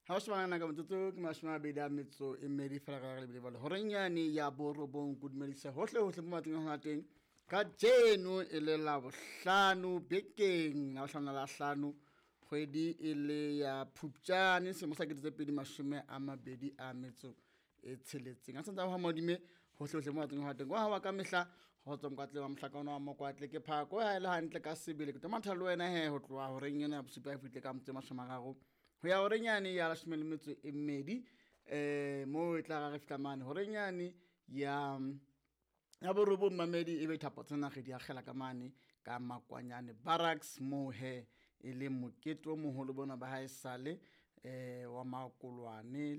Ha o shebana ka metsotso ke 24 fela ka lebile bale horeng yane ya borobong. Ko dumedisa hohle hohle mo matseng a hona teng ka jeno e le la bohlano bekeng la bohlano la hlano, kgwedi e le ya Phupjane selemo sa 2026. A santse a modime hohle hohle mo matseng a hona teng kwa wa ka mehla ho tswa mokwatle wa mohlakana wa mokwatle ke phako ha e le hantle ka sebele ke tomatha le wena he ho tloha horeng ena ya bosupa e fihle ka motse 30 ho ya horeng yane ya 12, mo e tla re fihla mane horeng yane ya borobong mamedi e be thapo tsena re di akgela ka mane ka Makwanyane Barracks mo he e le mokete o moholo bona ba hae sale wa makolwane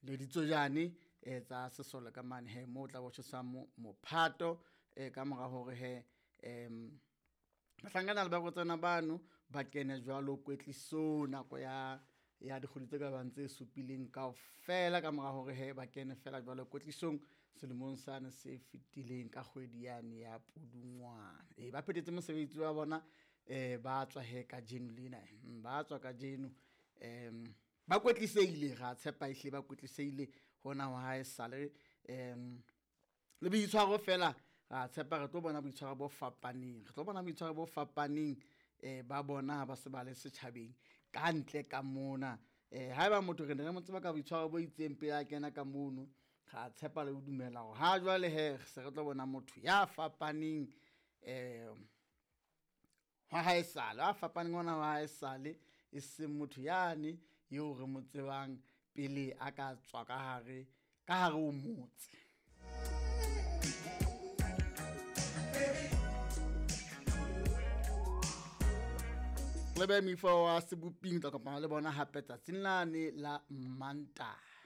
le ditsojane tsa sesole ka mane he mo tla bo tjhesa mophato ka mora hore he bahlankana le barwetsana bano ba kene jwalo kwetliso nako ya dikgwedi tse ka bang tse supileng kaofela ka mora hore he ba kene fela jwalo kwetlisong selemong sane se fetileng ka kgwedi yane ya Pudungwana. Ba phethetse mosebetsi wa bona, ba tswa he kajeno lena, ba tswa kajeno, ba kwetliseile, ra tshepa ehlile ba kwetliseile hona ho hae sale, le boitshwaro fela ra tshepa re tlo bona boitshwaro bo fapaneng, re tlo bona boitshwaro bo fapaneng ba bona ha ba se ba le setjhabeng ka ntle ka mona. Haeba motho re ne re mo tseba ka boitshwaro bo itseng pele a kena ka mono, ra tshepa le ho dumela hore ha jwale he se re tlo bona motho ya fapaneng, wa haesale, a fapaneng ona wa haesale, e seng motho yane eo re mo tsebang pele a ka tswa ka hare ho motse. Le be mifo wa seboping tla kopana le bona hape tsatsing lane la Mantaha.